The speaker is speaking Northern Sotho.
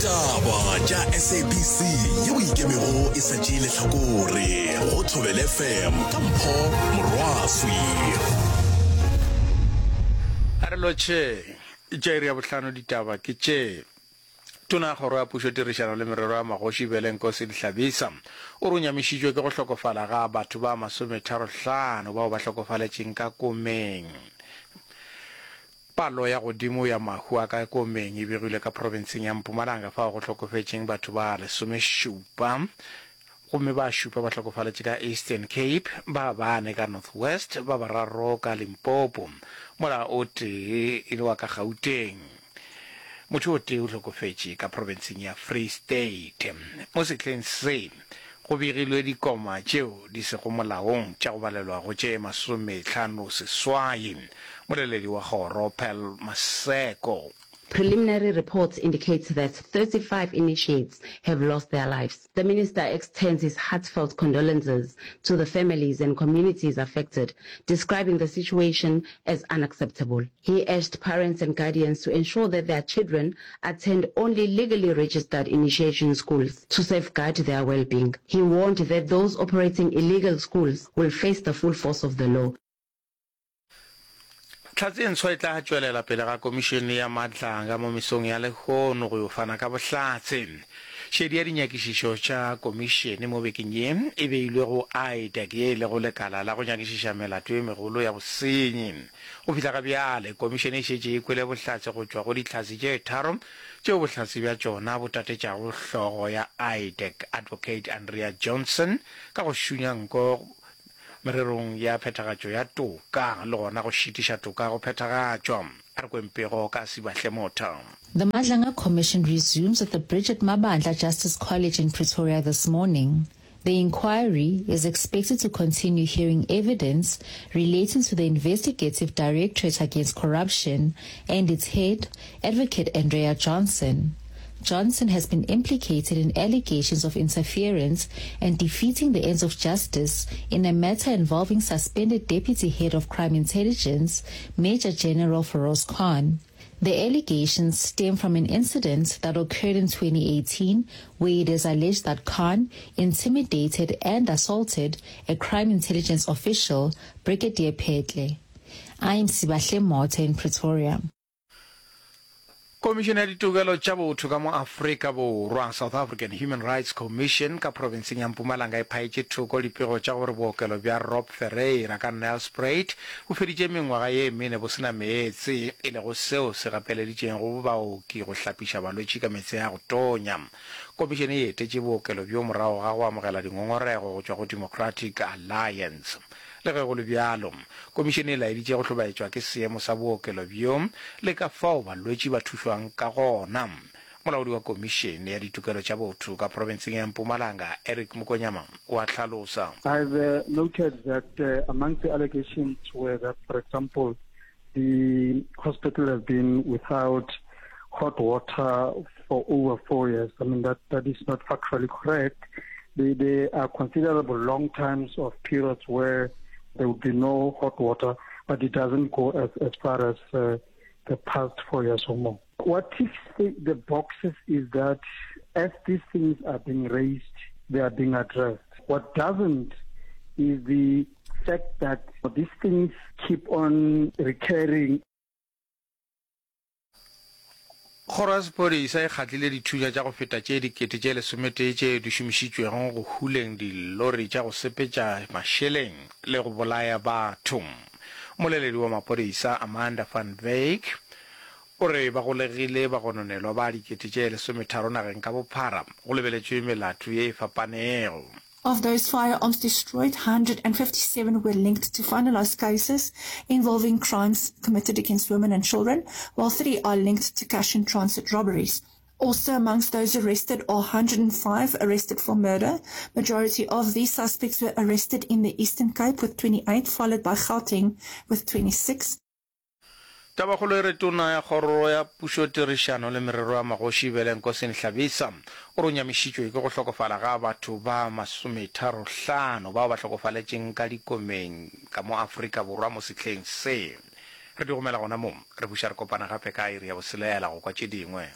Ditaba tša SABC yeo e ikemego e sa tšee lehlakore go Thobela FM ka Mpho Morwaswi. A re lotšheng. Tša iri ya bohlano ditaba ke tše. Tona ya Kgoro ya Pušo Tirišano le Merero ya Magoši Belenkosi Hlabisa o re o nyamišitšwe ke go hlokofala ga batho ba masometharohlano bao ba hlokofaletšeng ka komeng. Palo ya godimo ya mahu a ka komeng e begilwe ka profenseng ya Mpumalanga fao go hlokofetšeng batho ba lesomešupa gomme ba šupa ba hlokofaletše ka Eastern Cape, ba bane ka North West, ba bararo ka Limpopo mola o tee e le wa ka Gauteng. Motho o tee o hlokofetše ka profenseng ya Free State. Mo sehleng se go begilwe dikoma tšeo di sego molaong tša go balelwa go tše masomehlano-seswai. Moleledi wa kgoro, Pearl Maseko. Preliminary reports indicate that 35 initiates have lost their lives. The minister extends his heartfelt condolences to the families and communities affected, describing the situation as unacceptable. He urged parents and guardians to ensure that their children attend only legally registered initiation schools to safeguard their well-being. He warned that those operating illegal schools will face the full force of the law. Hlatse e ntshwa e tla tšwelela pele ga Komišene ya Madlanga mo mesong ya lehono go yo fana ka bohlatse. Šedi ya dinyakišišo tša komišene mo bekeng ye e beilwe go IDAC ye e lego lekala la go nyakišiša melato ye megolo ya bosenyi. Go fihla ga bjale, komišene e šetše e kwele bohlatse go tšwa go dihlatse tše tharo tšeo bohlatse bja tšona bo tatetšago hlogo ya IDAC Advocate Andrea Johnson ka go šunya nko mererong ya phethagatšo ya toka le gona go šitiša toka go phethagatšwa. A re kweng pego ka Sibahle Motha. The Madlanga Commission resumes at the Bridget Mabandla Justice College in Pretoria this morning. The inquiry is expected to continue hearing evidence relating to the Investigative Directorate Against Corruption and its head, Advocate Andrea Johnson. Johnson has been implicated in allegations of interference and defeating the ends of justice in a matter involving suspended Deputy Head of Crime Intelligence, Major General Feroz Khan. The allegations stem from an incident that occurred in 2018 where it is alleged that Khan intimidated and assaulted a crime intelligence official, Brigadier Petle. I am Sibahle Motha in Pretoria. Komišene ya Ditokelo tša Botho ka mo Afrika Borwa, South African Human Rights Commission, ka profenseng ya Mpumalanga e phaetše thoko dipego tša gore bookelo bja Rob Ferreira ka Nelspruit bo feditše mengwaga ye mene bo se na meetse, e lego seo se gapeleditšego baoki go hlapiša balwetši ka meetse a go tonya. Komišene e etetše bookelo bjo morago ga go amogela dingongorego go tšwa go Democratic Alliance. Le ge go le bjalo, komišene e laeditše go hlobaetšwa ke seemo sa bookelo bjo le ka fao balwetši ba thušwang ka gona. Molaodi wa Komišene ya Ditokelo tša Botho ka profenseng ya Mpumalanga, Eric Mokonyama, o a hlalosa. I've noted that amongst the allegations were that, for example, the hospital has been without hot water for over four years. I mean, that, that is not factually correct. There, there are considerable long times of periods where there would be no hot water, but it doesn't go as, as far as uh, the past four years or more. What ticks the, the boxes is that as these things are being raised, they are being addressed. What doesn't is the fact that these things keep on recurring. Kgoro ya Sephodisa e kgatlile dithunya tša go feta tše dikete tše lesometee tše di šomišitšwego go huleng dilori tša go sepetša mašeleng le go bolaya batho. Mmoleledi wa maphodisa Amanda van Wyk o re ba golegile bagononelwa ba dikete tše lesometharo nageng ka bophara go lebeletšwe melato ye e fapanego. Of those firearms destroyed, 157 were linked to finalized cases involving crimes committed against women and children, while three are linked to cash in transit robberies. Also amongst those arrested are 105 arrested for murder. Majority of these suspects were arrested in the Eastern Cape with 28, followed by Gauteng with 26. Tabakgolo e re Tona ya Kgoro ya Pušotirišano le Merero ya Magoši Velenkosini Hlabisa o re o nyamišitšwe ke go hlokofala ga batho ba masometharohlano bao ba hlokofaletšeng ka dikomeng ka mo Afrika Borwa mo sehleng se. Re di gomela gona mo, re buša re kopana gape ka iri ya boselela go kwa tše dingwe.